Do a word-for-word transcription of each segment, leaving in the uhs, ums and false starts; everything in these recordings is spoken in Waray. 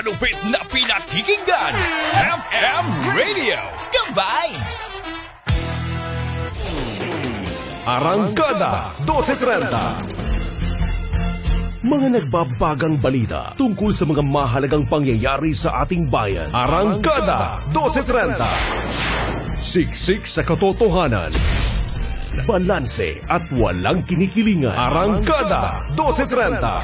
Malupit na pinakikinggan, F M Radio, The Vibes. Arangkada dose trenta. Mga nagbabagang balita tungkol sa mga mahalagang pangyayari sa ating bayan. Arangkada dose trenta. Siksik sa katotohanan. Balanse at walang kinikilingan. Arangkada dose trenta.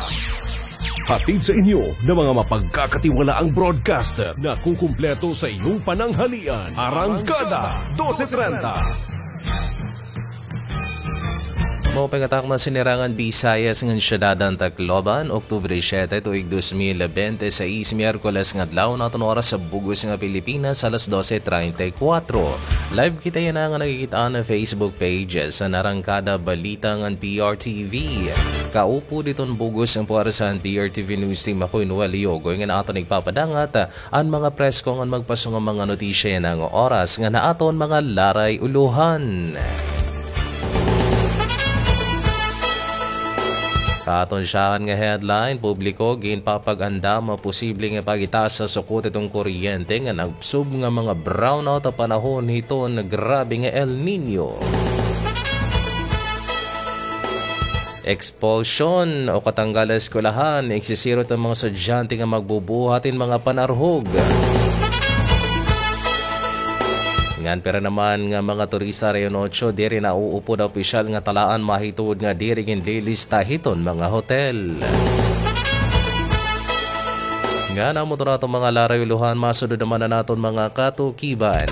Hatid sa inyo ng mga mapagkakatiwalaang broadcaster na kukumpleto sa iyong pananghalian. Arangkada dose trenta. Maupay nga takna sinirangan Visayas ngan syudad han Tacloban, Oktubre siyete, tuig dos mil bente seis, Miyerkules nga adlaw, an aton oras ha bug-os nga Pilipinas, alas dose treinta y cuatro. Live kita yana nga nakikit-an ha Facebook page han Arangkada Balita ngan P R T V. Kaupod hiton bug-os nga puwersa han P R T V News Team, ako hi Noel Yogoy ngan aton igpapadangat an mga presko ngan magpaso nga mga notisya yana nga oras ngan aton mga laray-ulohan. Aton syahan nga headline, publiko ginpapag-andam an posible nga pagitaas ha sukot hiton kuryente ngan agsub nga mga brownout ha panahon hiton grabe nga El Niño. Expulsion o katanggal ha eskwelahan, igsisirot an mga estudyante nga magbubuhat hin mga panarhog. Ngan pira naman nga mga turista ha Region Ocho diri nauupod ha opisyal nga talaan mahitungod nga diri ginlilista hiton mga hotel. Ngan amo ito an aton mga laray-ulohan, masunod naman an aton mga katukiban.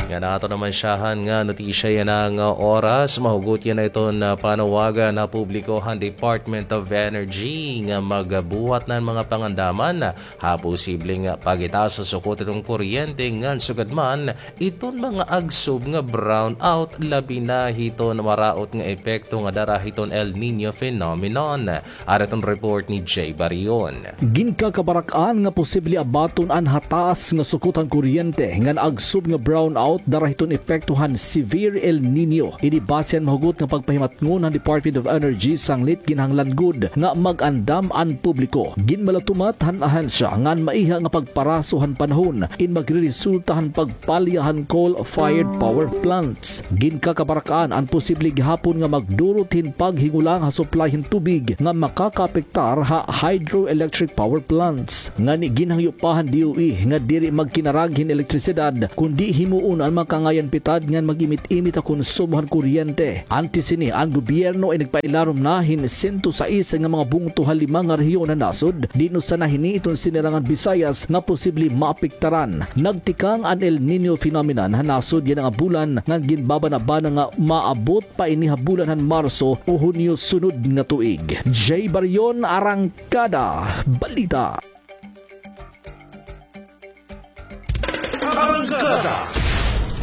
Ngan aton naman syahan nga notisya yana nga oras, mahugot yana iton panawagan ha publiko han Department of Energy nga magbuhat na hin mga pangandaman ha posibleng pagitaas ha sukot hiton kuryente ngan sugad man iton mga agsub nga brownout, labi na hiton maraot nga epekto nga dara hiton El Niño phenomenon. Ari iton report ni Jay Barion. Ginkakabarak-an nga posible abaton an hataas nga sukot han kuryente ngan agsub nga brownout dara hiton epekto han severe El Niño. Ini base han mahugot nga pagpahimatngon han Department of Energy sanglit ginhanglan gud nga mag-andam an publiko. Ginmalatumat han ahensya nga an maiha nga pagparaso han panahon in magreresulta han pagpalya han coal-fired power plants. Ginkakabarak-an an posible gihapon nga magdurot hin paghingulang ha supply hin tubig nga makakaapektar ha hydroelectric power plants. Ngani ginhangyo pa han D O E nga diri magkinarag hin elektrisidad, kundi himuon an mga kangayan pitad ngan mag-imit-imit ha konsumo han kuryente. Antes hini, an gobyerno ay nagpailarom na hin sento sais nga mga bungto ha lima nga rehiyon han nasod, diin usa na hini iton sinirangan Visayas nga posible maapektaran. Nagtikang an El Niño phenomenon ha nasod yana nga bulan ngan ginbabanabana nga maabot pa ini ha bulan han Marso o Hunyo sunod nga tuig. Jay Barion, Arangkada Balita. Arangkada.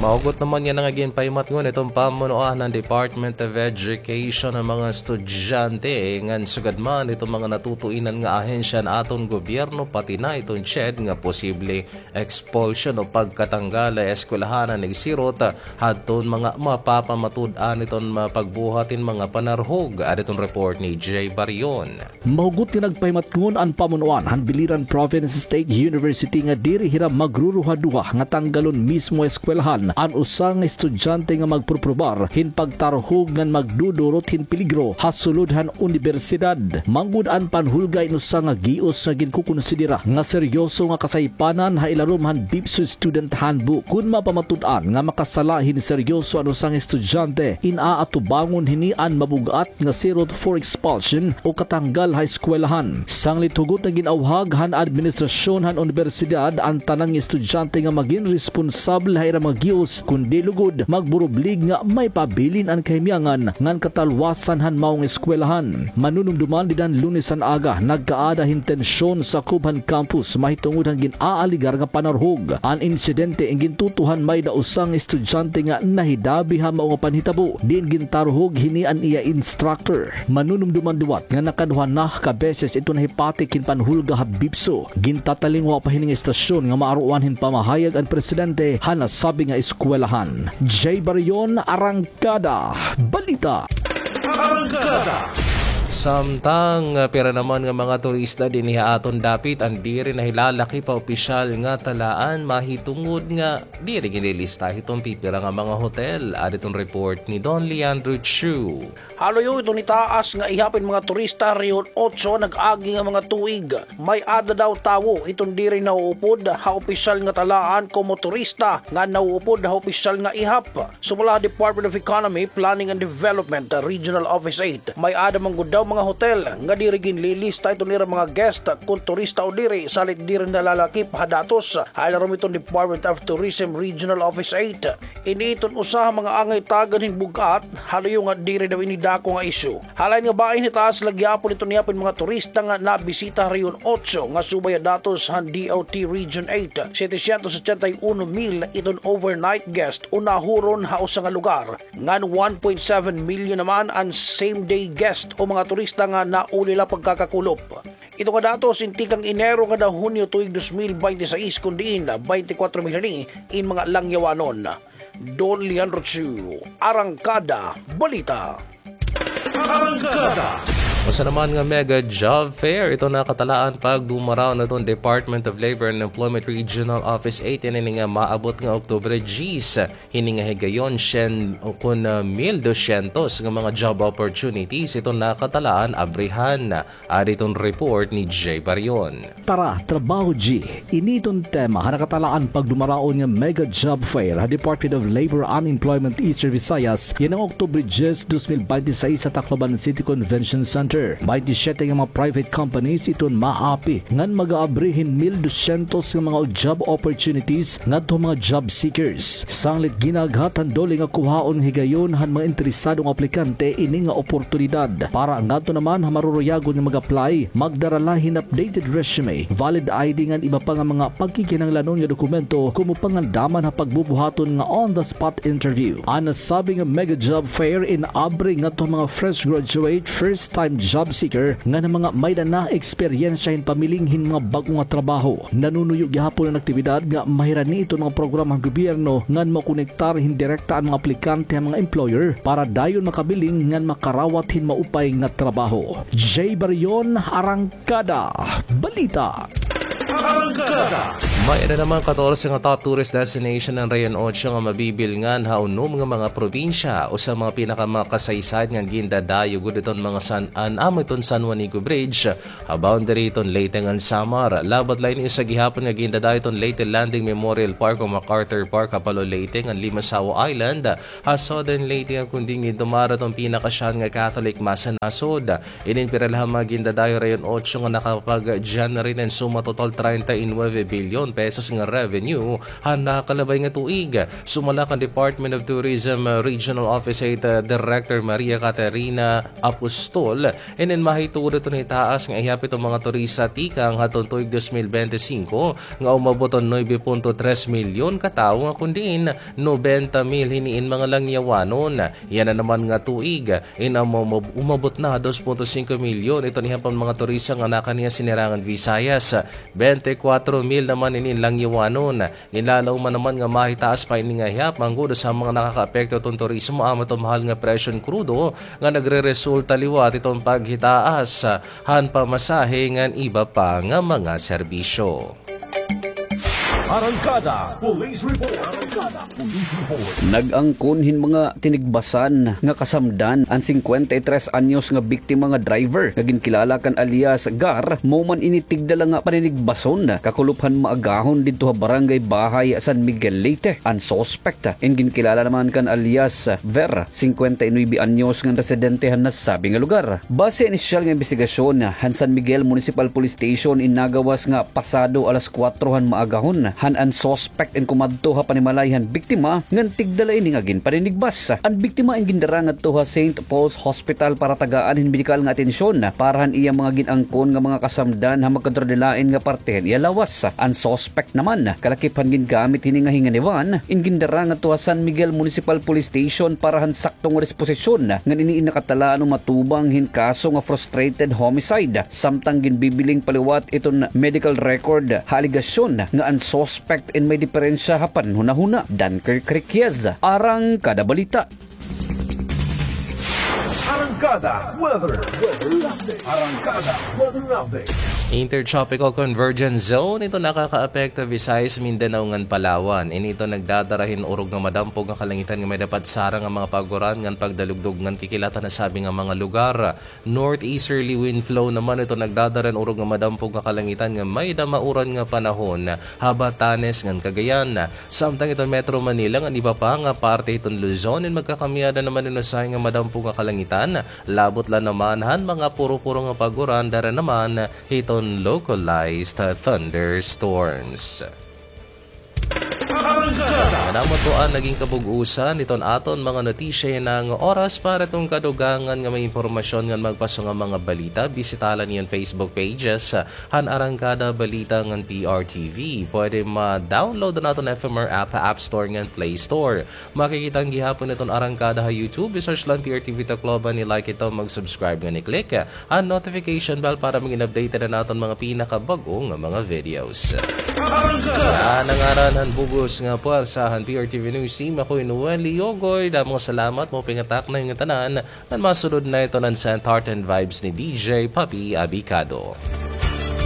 Mahugot naman yana nga ginpahimatngon iton pamunuan han Department of Education an mga estudyante ngan sugad man iton mga natutuinan nga ahensya han aton gobyerno, pati na iton CHED nga posible expulsion o pagkatanggal ha eskwelahan an igsirot hadton mga mapapamatud-an iton pagbuhat hin mga panarhog. Ari iton report ni Jay Barion. Mahugot nga nagpahimatngon an pamunuan han Biliran Province State University nga diri hira magruruhaduha nga tanggalon mismo ha eskwelahan an usa nga estudyante nga magpurprobar hin pagtarhog ngan magdudurot hin peligro ha sulod han unibersidad. Manggod an panhulga in usa nga gios nga ginkukonsidera nga seryoso nga kasaypanan ha ilarom han BIPSO Student Handbook. Kon mapamatud-an nga makasala hin seryoso an usa nga estudyante, in aatubangon hini an mabug-at nga sirot for expulsion o katanggal ha eskwelahan. Sanglit hugot nga gin-awhag han administrasyon han unibersidad an tanan nga estudyante nga magin responsable ha ira mga gios, kundi lugod magburublig nga maipabilin an kahimyangan ngan katalwasan han mao nga eskwelahan. Manunumduman dida han Lunes han aga, nagkaada hin tensyon sakob han campus mahitungod han gin-aalegar nga panarhog. An insidente in gintutuhan may-ada usa nga estudyante nga nahidabi ha mao nga panhitabo, diin gintarhog hini an iya instructor. Manunumduman liwat nga nakaduha na ka beses ito nahipatik hin panhulga ha BIPSO. Gintatalinguha pa hini nga istasyon nga maaruan hin pamahayag an presidente han nasabi nga eskwelahan. Jay Barion, Arangkada Balita. Arangkada. Samtang, ah, pira naman nga mga turista dinhi ha aton dapit an diri na hilalakip ha opisyal nga talaan, mahitungod nga diri ginlilista hiton pipira nga mga hotel. Adi ton report ni Don Leandro Chu. Haluyo iton hitaas nga ihap hin mga turista Rehiyon Otso nag-agi nga mga tuig. May-ada daw tawo iton diri nauupod ha opisyal nga talaan komo turista nga nauupod ha opisyal nga ihap. Sumala ha Department of Economy, Planning and Development, Regional Office eight, may-ada man gud daw mga hotel nga diri ginlilista iton ira mga guest kon turista o diri, salit diri nalalakip ha datos. Ha ilarom iton Department of Tourism, Regional Office eight, ini iton usa ha mga angay tagan hin bug-at, haluyo nga diri daw ini dako nga isyu. Ha lain nga bahin, hitaas la gihapon iton ihap hin mga turista nga nabisita ha Rehiyon Otso nga subay ha datos han D O T Region eight, setecientos ochenta y uno mil iton overnight guest o nahuron ha usa nga lugar, ngan one point seven milyon naman an same day guest o mga turista nga nauli la pagkakakulop. Ito nga datos in tikang Enero ngada Hunyo tuig dos mil baynte sais, kon diin baynte kwatro mil ini in mga langyawanon. Don Leandro Chu, Arangkada Balita. Arangkada. Usa naman nga mega job fair ito nakatalaan pagdumaraon hiton Department of Labor and Employment Regional Office eight, ini nga maabot nga Oktubre diyes. Hini nga higayon, syen, o kon, ah, mil dosyentos nga mga job opportunities ito nakatalaan abrihan. Adi ton report ni Jay Barion. Tara, Trabaho G. Ini iton tema ha nakatalaan pagdumaraon nga Mega Job Fair ha Department of Labor and Employment Eastern Visayas yana nga Oktubre diyes, dos mil baynte sais ha Tacloban City Convention Center. Baynte siyete nga mga private companies iton maapi ngan mag-aabri hin mil dosyentos nga mga job opportunities ngadto ha mga job seekers. Sanglit ginaghat han DOLE nga kuhaon higayon han mga interesadong aplikante ini nga oportunidad. Para ngadto naman ha maruruyagon nga mag-apply, magdara la hin updated resume, valid I D ngan iba pa nga mga pagkikinahanglanon nga dokumento komo pangandaman ha pagbubuhaton nga on-the-spot interview. An nasabi nga Mega Job Fair in-abri ngadto ha mga fresh graduate, first time job seeker, ngan ha mga may-ada na eksperyensya hin pamiling hin mga bag-o nga trabaho. Nanunuyo gihapon an aktibidad nga mahirani iton mga programa han gobyerno ngan makonektar hin direkta an mga aplikante ha mga employer para dayon makabiling ngan makarawat hin maupay nga trabaho. Jay Barion, Arangkada Balita. Arangkada. May-ada naman katorse nga top tourist destination an Rehiyon Otso nga mabibilngan ha unom nga mga probinsya. Usa mga pinakamakasaysayan nga gindadayo gud iton mga san-an amo iton San Juanico Bridge, ha boundary iton Leyte ngan Samar. Labaw la ini usa gihapon nga gindadayo iton Leyte Landing Memorial Park o MacArthur Park ha Palo, Leyte ngan Limasawa Island ha Southern Leyte, nga kundi gindumara iton pinakasyahan nga Catholic Mass ha nasod. Inin pira la ha mga gindadayo Rehiyon Otso nga nakapag-generate hin suma total treinta y nueve bilyon pesos nga revenue ha nakalabay nga tuig. Sumala kan Department of Tourism, uh, Regional Office eight, uh, Director Maria Caterina Apostol, inin mahitungod iton hitaas nga ihap iton mga turista tikang hadton tuig dos mil bente singko nga umabot hin nuebe punto tres milyon ka tawo nga kon diin nobenta mil hini in mga langyawanon. Yana naman nga tuig, in umab-, umabot na dos punto singko milyon iton ihap han mga turista nga nakaniya sinirangan Visayas. Bente kwatro mil naman ini in langyawanon. Ginlalauman naman nga mahitaas pa ini nga ihap, manggod sa mga nakakaapekto iton turismo, amo iton mahal nga presyo hin krudo nga nagreresulta liwat iton paghitaas han pamasahe ngan iba pa nga mga serbisyo. Arangkada Police Report. Arangkada Police Report. Nag-angkon hin mga tinigbasan nga kasamdan an singkwenta y tres anyos nga biktima nga driver nga ginkilala kan alias Gar, mao man ini tigda la nga paninigbason kakulop han maagahon didto ha Barangay Bahay, San Miguel, Leyte. An suspect, in ginkilala naman kan alias Ver, singkwenta y nuebe anyos, nga residente han nasabi nga lugar. Base ha inisyal nga imbestigasyon han San Miguel Municipal Police Station, in nagawas nga pasado alas kuwatro han maagahon, han an suspect in kumadto ha panimalay han biktima, ngan tigda la ini nga ginpaninigbas. An biktima in gindara ngadto ha Saint Paul's Hospital para tagaan hin medikal nga atensyon para han iya mga gin-angkon nga mga kasamdan ha magkadurudilain nga parte han iya lawas. An suspect naman, kalakip han gingamit hini nga hinganiban, in gindara ngadto ha San Miguel Municipal Police Station para han sakto nga disposisyon, ngan ini in nakatalaan o matubang hin kaso nga frustrated homicide, samtang ginbibiling pa liwat iton medical record ha alegasyon nga an suspect in may diperensya ha panhunahuna. Dunker Criquias, Arangkada Balita. Arangkada. Arangkada Weather. Arangkada Weather Update. Intertropical Convergence Zone, ito nakakaapekto Visayas, Mindanao ngan Palawan. Ini ito nagdadara hin urog nga madampog nga kalangitan nga may dapat sarang nga mga paguran ngan pagdalugdog ngan kikilatan ha sabi nga mga lugar. Northeasterly wind flow naman ito nagdadara hin urog nga madampog nga kalangitan nga may damauran nga panahon ha Batanes ngan Cagayan. Samtang iton Metro Manila ngan iba pa nga parte hiton Luzon, in magkakamiada naman in usahay nga madampog nga kalangitan, labot la naman han mga puro-puro nga pag-uran, dara naman hiton localized thunderstorms. Ngan amo to an naging kabug-usan hiton aton mga notisya yana nga oras. Para hiton kadugangan nga mga impormasyon ngan magpaso nga mga balita, bisita la niyo an Facebook pages han Arangkada Balita ngan P R T V. Pwede ma-download an aton F M R app ha App Store ngan Play Store. Makikita an gihapon hiton Arangkada ha YouTube. I-search la an P R T V Tacloban, i-like ito, mag-subscribe ngan i-click an notification bell para magin updated an aton mga pinakabag-o nga mga videos. Sa ngaran han bug-os nga puwersa han P R T V News Team, ako hi Noel Liogoy. Damo nga salamat, maupay nga takna ha iyo ngatanan. Ngan masunod na iton an Saint Heart and Vibes ni D J Papi Abicado.